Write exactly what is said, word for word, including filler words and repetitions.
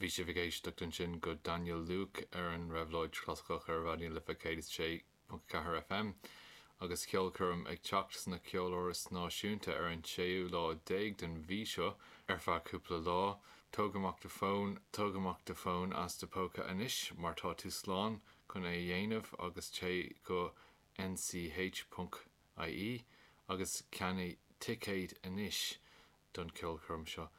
Bhí sibh ag éisteacht ansin go Daniel Luke ar an Réabhlóid Chlasaiceach ar Raidió na Life céad is sé ponc ceathair FM agus ceolchoirm ag teacht sna Ceoláras Náisiúnta ar an séú lá déag den mhí seo ar feadh cúpla lá. Tóg amach do fón tóg amach do fón as do póca anois mar tá tú slán chun é a dhéanamh agus téigh go nch.ie agus ceannaigh ticéid anois don ceolchoirm seo.